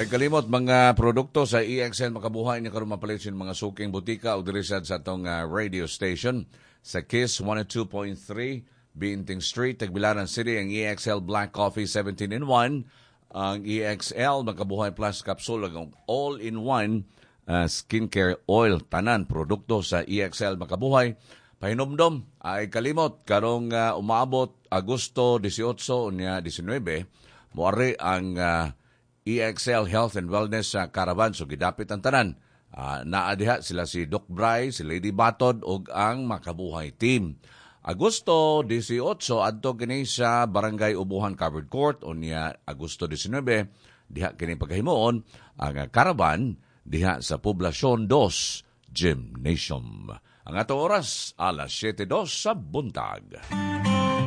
Ay kalimot mga produkto sa EXL Makabuhay niya karon mapalit sa mga suking butika o diri sad sa atong radio station sa KISS 102.3 Binting Street, Tagbilaran City. Ang EXL Black Coffee 17 in 1, ang EXL Makabuhay Plus Capsule, ang all-in-one skincare oil, tanan produkto sa EXL Makabuhay. Pahinomdom, ay kalimot karong umaabot Agosto 18 unya 19, moari ang EXL Health and Wellness sa Caravan. So gidapit ang tanan. Naa diha sila si Doc Bry, si Lady Batod ug ang Makabuhay team. Agosto 18 adto kini sa Barangay Ubuhan Covered Court, unya Agosto 19 diha kini pagkahimuon ang caravan diha sa Poblasyon 2 Gymnasium. Ang atong oras, alas 7:02 sa buntag.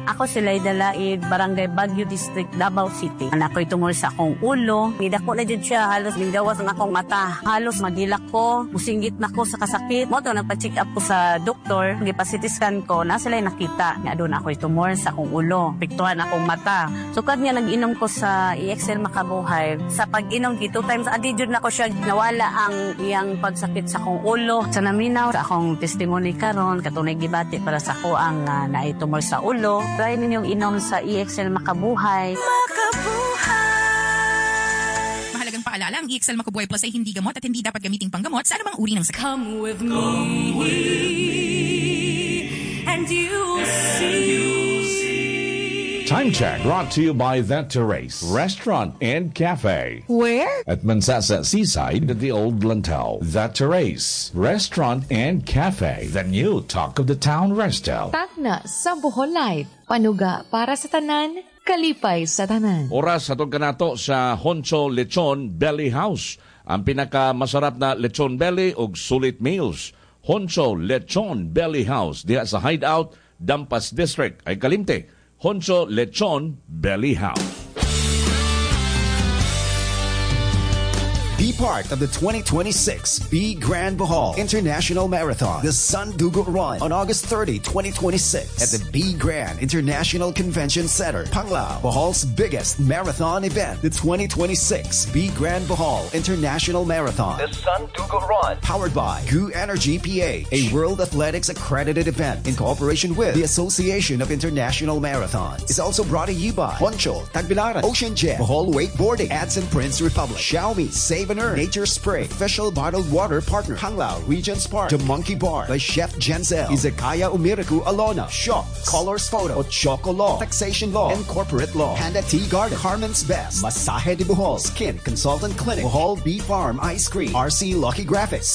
Ako si Laida Laid, Barangay Baguio District, Davao City. Naa ko'y tumor sa akong ulo. Nidako na jud siya, halos minggawas ang akong mata. Halos magilak ko, musinggit na ko sa kasakit. Mao to nagpa-check up ko sa doktor, gipa-CT scan ko, naa sila'y nakita nga aduna ako'y tumor sa akong ulo. Apektuhan akong mata. Sukad nga nag-inom ko sa EXL Makabuhay, sa pag-inom gi two times a day jud nako siya, nawala ang iyang pagsakit sa akong ulo. Sa naminaw sa akong testimony karon, katunay gibati para sa ako ang naay tumor sa ulo. Try ninyong inom sa EXL Makabuhay. Mahalagang paalala, ang EXL Makabuhay Plus ay hindi gamot at hindi dapat gamiting panggamot sa anumang uri ng sakit. Come with me, and you'll see. Time check brought to you by That Terrace Restaurant and Cafe. Where? At Mansasa Seaside at the Old Lantau. That Terrace Restaurant and Cafe. The new talk of the town resto. Tagna sa Bohol Live. Panuga para sa tanan, kalipay sa tanan. Oras atong kanato sa Honcho Lechon Belly House. Ang pinakamasarap na lechon belly ug sulit meals. Honcho Lechon Belly House diha sa Hideout, Dampas District. Ay kalimte, Honcho Lechon Belly House. Be part of the 2026 Be Grand Bohol International Marathon, the Sandugo Run, on August 30, 2026 at the Be Grand International Convention Center, Panglao, Bohol's biggest marathon event, the 2026 Be Grand Bohol International Marathon, the Sandugo Run, powered by Goo Energy PH, a World Athletics accredited event in cooperation with the Association of International Marathons. Is also brought to you by Honcho, Tagbilaran, Ocean Jet, Bohol Wakeboarding, Ads and Prince Republic, Xiaomi, Save and Earn, Nature Spray, Official Bottled Water Partner, Panglao Regents Park, The Monkey Bar by Chef Jenzel, Izakaya Umiriku Alona, Shaw, Colors Photo, Ochoco Law, Taxation Law, and Corporate Law, Panda Tea Garden, Carmen's Best, Masaje de Bohol, Skin Consultant Clinic, Bohol Bee Farm Ice Cream, RC Lucky Graphics,